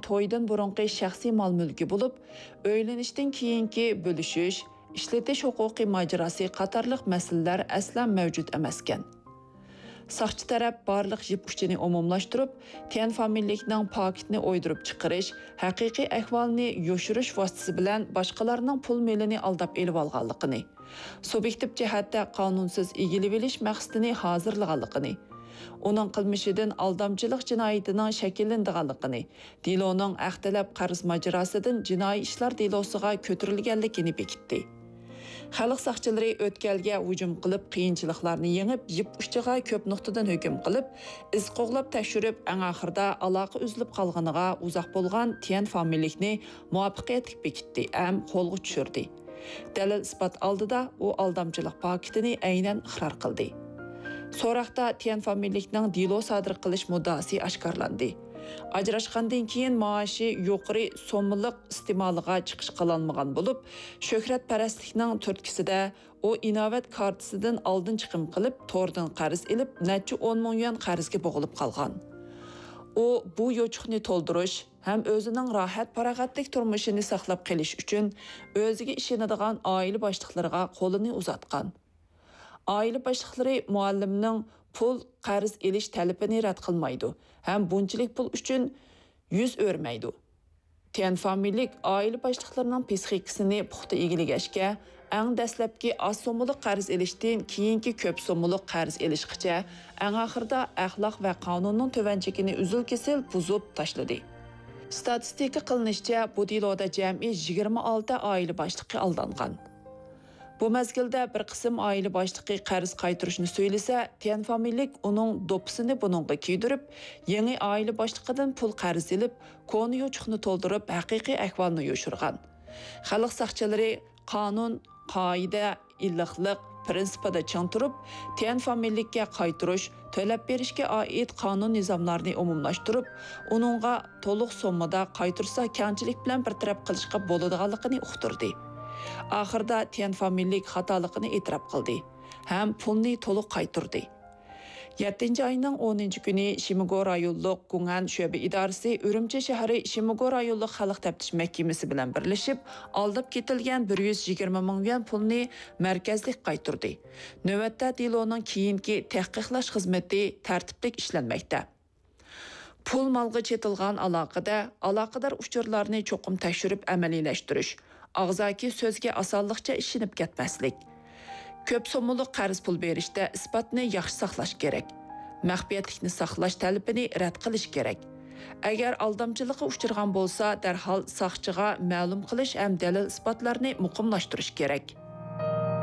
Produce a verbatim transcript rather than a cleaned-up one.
تويدىن بۇرۇنقى شەخسىي مال-مۈلكى بولۇپ، ئۆيلىنىشتىن كېيىنكى بۆلۈشۈش، ئىشلىتىش ھوقۇقى ماجىراسى قاتارلىق مەسىلىلەر ئەسلا مەۋجۇت ئەمەسكەن. ساقچى تەرەپ بارلىق يىپ ئۇچىنى ئومۇملاشتۇرۇپ، تيەن فامىلىلىكنىڭ پاكىتنى ئويدۇرۇپ چىقىرىش، ھەقىقىي ئەھۋالنى يوشۇرۇش ۋاسىتىسى بىلەن باشقىلارنىڭ پۇل مېلىنى ئالداپ ئېلىۋالغانلىقىنى، سۇبيېكتىپ جەھەتتە قانۇنسىز ئىگىلىۋېلىش مەقسىتىنى ھازىرلىغانلىقىنى، ئۇنىڭ قىلمىشىدىن ئالدامچىلىق جىنايىتىنىڭ شەكىللىنىدىغانلىقىنى، دېلونىڭ ھەق تەلەپ قەرز ماجىراسىدىن جىنايى ئىشلار دېلوسىغا كۆتۈرۈلگەنلىكىنى بېكىتتى. خەلق ساقچىلىرى ئۆتكەلگە ھۇجۇم قىلىپ، قىيىنچىلىقلارنى يېڭىپ، يىپ ئۇچىغا كۆپ نۇقتىدىن ھۆكۈم قىلىپ، ئىز قوغلاپ تەكشۈرۈپ، ئەڭ ئاخىرىدا ئالاقە ئۈزۈلۈپ قالغىنىغا ئۇزاق بولغان تيەن فامىلىلىكنى مۇۋەپپەقىيەتلىك بېكىتتى ھەم قولغا چۈشۈردى. دەلىل-ئىسپات ئالدىدا ئۇ ئالدامچىلىق پاكىتىنى ئەينەن ئىقرار قىلدى. سوراقتا تيەن فامىلىلىكنىڭ دېلو سادىر قىلىش مۇددىئاسى ئاشكارىلاندى. ئاجراشقاندىن كېيىن مائاشى يۇقىرى سوممىلىق ئىستېمالىغا چىقىش قىلالمىغان بولۇپ، شۆھرەتپەرەسلىكنىڭ تۈرتكىسىدە ئۇ ئىناۋەت كارتىسىدىن ئالدىن چىقىم قىلىپ، توردىن قەرز ئېلىپ، نەچچە ئون مىڭ يۈەن قەرزگە بوغۇلۇپ قالغان. ئۇ بۇ يوچۇقنى تولدۇرۇش ھەم ئۆزىنىڭ راھەت-پاراغەتلىك تۇرمۇشىنى ساقلاپ قېلىش ئۈچۈن ئۆزىگە ئىشىنىدىغان ئائىلە باشلىقلىرىغا قولىنى ئۇزاتقان. ئائىلە باشلىقلىرى مۇئەللىمنىڭ پۇل قەرز ئېلىش تەلىپىنى رەت قىلمايدۇ ھەم بۇنچىلىك پۇل ئۈچۈن يۈز ئۆرمەيدۇ. تيەن فامىلىلىك ئائىلە باشلىقلىرىنىڭ پىسخىكىسىنى پۇختا ئىگىلىگەچكە، ئەڭ دەسلەپكى ئاز سوممىلىق قەرز ئېلىشتىن كېيىنكى كۆپ سوممىلىق قەرز ئېلىشقىچە، ئەڭ ئاخىرىدا ئەخلاق ۋە قانۇننىڭ تۆۋەن چېكىنى ئۈزۈل-كېسىل بۇزۇپ تاشلىدى. ستاتىستىكا قىلىنىشىچە، بۇ دېلودا جەمئىي يىگىرمە ئالتە ئائىلە باشلىقى ئالدانغان. بۇ مەزگىلدە بىر قىسىم ئائىلە باشلىقى قەرز قايتۇرۇشنى سۆيلىسە، تيەن فامىلىلىك ئۇنىڭ دوپپىسىنى بۇنىڭغا كىيدۈرۈپ، يېڭى ئائىلە باشلىقىدىن پۇل قەرز ئېلىپ، كونا يوچۇقنى تولدۇرۇپ، ھەقىقىي ئەھۋالنى يوشۇرغان. خەلق ساقچىلىرى قانۇن، قائىدە، ئىللىقلىق پىرىنسىپىدا چىڭ تۇرۇپ، تيەن فامىلىلىككە قايتۇرۇش، تۆلەپ بېرىشكە ئائىت قانۇن نىزاملارنى ئومۇملاشتۇرۇپ، ئۇنىڭغا تولۇق سوممىدا قايتۇرسا كەڭچىلىك بىلەن بىر تەرەپ قىلىشقا بولىدىغانلىقىنى ئۇقتۇردى. ئاخىرىدا تيەن فامىلىلىك خاتالىقىنى ئېتىراپ قىلدى ھەم پۇلنى تولۇق قايتۇردى. يەتتىنچى ئاينىڭ ئونىنچى كۈنى شىمىگو رايونلۇق گۇڭئەن شۆبە ئىدارىسى ئۈرۈمچى شەھىرى شىمىگو رايونلۇق خەلق تەپتىش مەھكىمىسى بىلەن بىرلىشىپ، ئالداپ كېتىلگەن بىر يۈز يىگىرمە مىڭ يۈەن پۇلنى مەركەزلىك قايتۇردى. نۆۋەتتە دېلونىڭ كېيىنكى تەھقىقلاش خىزمىتى تەرتىپلىك ئىشلەنمەكتە. پۇل مالغا چېتىلغان ئالاقىدە، ئالاقىدار ئۇچۇرلارنى چوقۇم تەكشۈرۈپ ئەمەلىيلەشتۈرۈش، ئاغزاكى سۆزگە ئاسانلىقچە ئىشىنىپ كەتمەسلىك، كۆپ سوممىلىق قەرز پۇل بېرىشتە ئىسپاتنى ياخشى ساقلاش كېرەك، مەخپىيەتلىكنى ساقلاش تەلىپىنى رەت قىلىش كېرەك. ئەگەر ئالدامچىلىققا ئۇچرىغان بولسا، دەرھال ساقچىغا مەلۇم قىلىش ھەم دەلىل-ئىسپاتلارنى مۇقىملاشتۇرۇش كېرەك.